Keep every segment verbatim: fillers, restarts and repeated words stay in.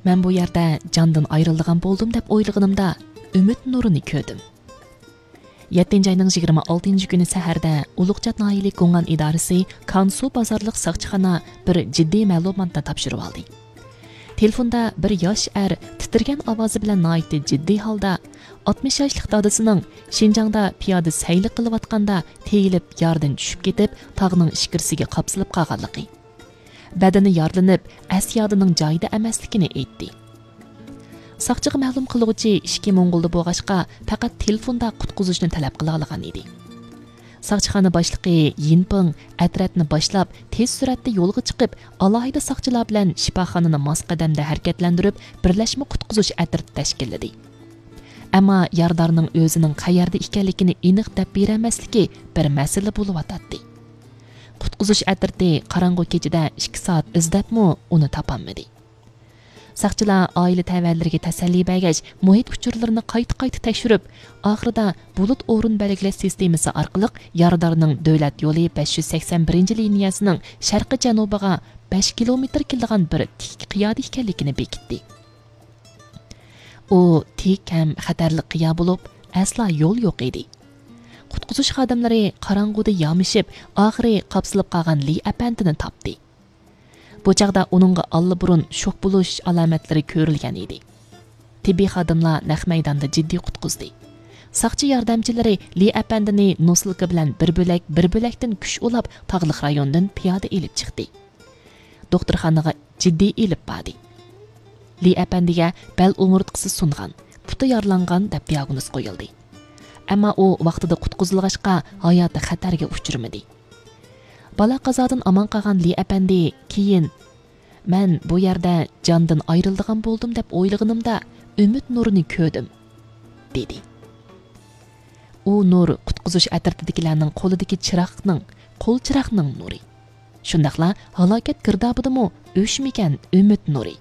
مەن بۇ يەردە جاندىن ئايرىلىدىغان بولدۇم دەپ ئويلىغىنىمدا، ئۈمىد نۇرىنى كۆردۈم. يەتتىنچى ئاينىڭ يىگىرمە ئالتىنچى كۈنى سەھەردە ئۇلۇغچات ناھىيەلىك گۇڭئەن ئىدارىسى كانسۇ بازارلىق ساقچىخانا بىر جىددىي مەلۇماتنى تاپشۇرۇۋالدى. تېلېفوندا بىر ياش ئەر تىترىگەن ئاۋازى بىلەن ناھايىتى جىددىي ھالدا ئاتمىش ياشلىق دادىسىنىڭ شىنجاڭدا پىيادە سەيلە قىلىۋاتقاندا تېيىلىپ ياردىن چۈشۈپ كېتىپ، تاغنىڭ ئىچكىرىسىگە قاپسىلىپ قالغانلىقى، بەدىنى يارىلىنىپ، ئەس-يادىنىڭ جايىدا ئەمەسلىكىنى ئېيتتى. ساقچىغا مەلۇم قىلغۇچى ئىچكى موڭغۇلدا بولغاچقا، پەقەت تېلېفوندا قۇتقۇزۇشنى تەلەپ قىلالايدىغان ئىدى. ساقچىخانا باشلىقى يىنپىڭ ئەترەتنى باشلاپ، تېز سۈرئەتتە يولغا چىقىپ، ئالاھىدە ساقچىلار بىلەن شىپاخانىنى ماس قەدەمدە ھەرىكەتلەندۈرۈپ، بىرلەشمە قۇتقۇزۇش ئەترىتى تەشكىللىدى. ئەمما يارىدارنىڭ ئۆزىنىڭ قەيەردە ئىكەنلىكىنى ئېنىق دەپ بېرەلمەسلىكى بىر مەسىلە بولۇۋاتاتتى. قۇتقۇزۇش ئەترىتى قاراڭغۇ كېچىدە ئىككى سائەت ئىزدەپمۇ ئۇنى تاپالمىدى. ساقچىلار ئائىلە تەۋەلىرىگە تەسەللى بەرگەچ، مۇھىت ئۇچۇرلىرىنى قايتا-قايتا تەكشۈرۈپ، ئاخىرىدا بۇلۇت ئورۇن بەلگىلەش سىستېمىسى ئارقىلىق يارىدارنىڭ دۆلەت يولى بەش يۈز سەكسەن بىرىنچى لىنىيەسىنىڭ شەرقىي جەنۇبىغا بەش كىلومېتىر كېلىدىغان بىر تىك قىيادا ئىكەنلىكىنى بېكىتتى. ئۇ تىك ھەم خەتەرلىك قىيا بولۇپ، ئەسلا يول يوق ئىدى. قۇتقۇزۇش خادىملىرى قاراڭغۇدا يامىشىپ، ئاخىرى قاپسىلىپ قالغان لى ئەپەندىنى تاپتى. بۇ چاغدا ئۇنىڭغا ئاللىبۇرۇن شوك بولۇش ئالامەتلىرى كۆرۈلگەن ئىدى. تېببىي خادىملار نەق مەيداندا جىددىي قۇتقۇزدى. ساقچى ياردەمچىلىرى لى ئەپەندىنى نوسلىكا بىلەن بىر بۆلەك، بىر بۆلەكتىن كۈچ ئۇلاپ، تاغلىق رايوندىن پىيادە ئېلىپ چىقتى. دوختۇرخانىغا جىددىي ئېلىپ باردى. لى ئەپەندىگە بەل ئومۇرتقىسى سۇنغان، پۇتى يارىلانغان دەپ دىئاگنوز قويۇلدى. ئەمما ئۇ ۋاقتىدا قۇتقۇزۇلغاچقا، ھاياتى خەتەرگە ئۇچرىمىدى. بالا قازادىن ئامان قالغان لى ئەپەندى كېيىن، مەن بۇ يەردە جاندىن ئايرىلىدىغان بولدۇم دەپ ئويلىغىنىمدا، ئۈمىد نۇرىنى كۆردۈم، دېدى. ئۇ نۇر قۇتقۇزۇش ئەترىتىدىكىلەرنىڭ قولىدىكى چىراغنىڭ، قول چىراغنىڭ نۇرى. شۇنداقلا ھالاكەت گىردابىدىمۇ ئۆچمىگەن ئۈمىد نۇرى.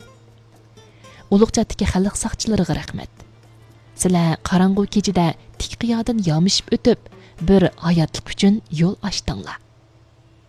ئۇلۇغچاتتىكى خەلق ساقچىلىرىغا رەھمەت. سىلەر قاراڭغۇ كېچىدە تىك قىيادىن يامىشىپ ئۆتۈپ، بىر ھاياتلىق ئۈچۈن يول ئاچتىڭلار.